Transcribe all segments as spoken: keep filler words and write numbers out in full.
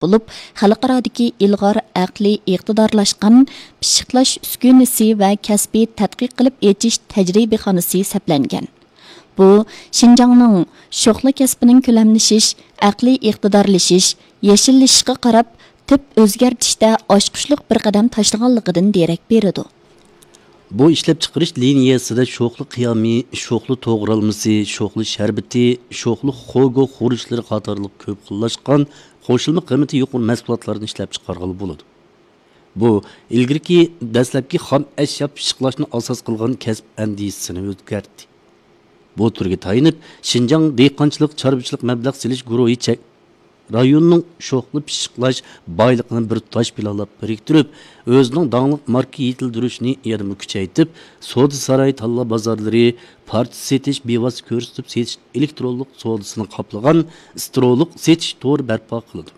بولۇپ، خەلقئارادىكى ئىلغار ئەقلىي ئىقتىدارلاشقان پىششىقلاش ئۈسكۈنىسى ۋە كەسپىي تەتقىق قىلىپ ئېچىش تەجرىبىخانىسى سەپلەنگەن. بۇ، شىنجاڭنىڭ شوخلا كەسپىنىڭ كۆلەملىشىش، ئەقلىي ئىقتىدارلىشىش، يېشىللىشىشقا قاراپ تۈپ ئۆزگەرتىشتە ئاچقۇچلۇق بىر قەدەم تاشلىغانلىقىدىن دېرەك بېرىدۇ. بۇ ئىشلەپچىقىرىش لىنىيەسىدە شوخلا قىيامى، شوخلا توغرالمىسى، شوخلا شەربىتى، شوخلا خوگو خۇرۇچلىرى قاتارلىق كۆپ خىللاشقان قوشۇلما قىممىتى يۇقىرى مەھسۇلاتلارنى ئىشلەپچىقارغىلى بولىدۇ. بۇ ئىلگىرىكى دەسلەپكى خام ئەشيا پىششىقلاشنى ئاساس قىلغان كەسىپ ئەندىزىسىنى ئۆزگەرتتى. بۇ تۈرگە تايىنىپ، شىنجاڭ دېھقانچىلىق چارۋىچىلىق مەبلەغ سېلىش گۇرۇھى چەك-، رايوننىڭ شوخلا پىششىقلاش بايلىقىنى بىر تۇتاش پىلانلاپ بىرىكتۈرۈپ، ئۆزىنىڭ داڭلىق ماركا يېتىلدۈرۈشىنى يەنىمۇ كۈچەيتىپ، سودا ساراي، تاللا بازارلىرى، پارچە سېتىش، بىۋاسىتە كۆرسىتىپ سېتىش ئېلېكترونلۇق سودىسىنى قاپلىغان سترولۇق سېتىش تورى بەرپا قىلىدۇ.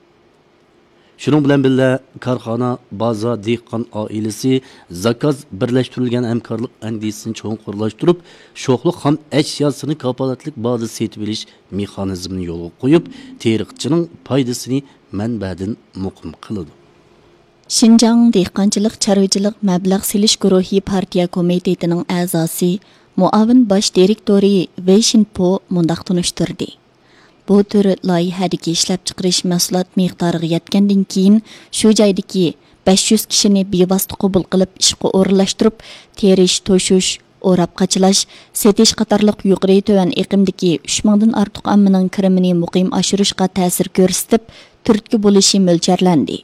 شۇنىڭ بىلەن بىللە، كارخانا، بازار، دېھقان ئائىلىسى، زاكاز بىرلەشتۈرۈلگەن ھەمكارلىق ئەندىزىسىنى چوڭقۇرلاشتۇرۇپ، شوخلا خام ئەشياسىنى كاپالەتلىك باھادا سېتىۋېلىش مېخانىزمىنى يولغا قويۇپ، تېرىقچىنىڭ پايدىسىنى مەنبەدىن مۇقىم قىلىدۇ. شىنجاڭ دېھقانچىلىق چارۋىچىلىق مەبلەغ سېلىش گۇرۇھى پارتىيە كومىتېتىنىڭ ئەزاسى، مۇئاۋىن باش دىرېكتورى ۋېي شىنپو مۇنداق تونۇشتۇردى. بۇ تۈر لايىھەدىكى ئىشلەپچىقىرىش مەھسۇلات مىقدارىغا يەتكەندىن كېيىن، شۇ جايدىكى بەش يۈز كىشىنى بىۋاسىتە قوبۇل قىلىپ ئىشقا ئورۇنلاشتۇرۇپ، تېرىش، توشۇش، ئوراپ قاچىلاش، سېتىش قاتارلىق يۇقىرى تۆۋەن ئېقىمدىكى ئۈچ مىڭدىن ئارتۇق ئاممىنىڭ كىرىمىنى مۇقىم ئاشۇرۇشقا تەسىر كۆرسىتىپ، تۈرتكە بولۇشى مۆلچەرلەندى.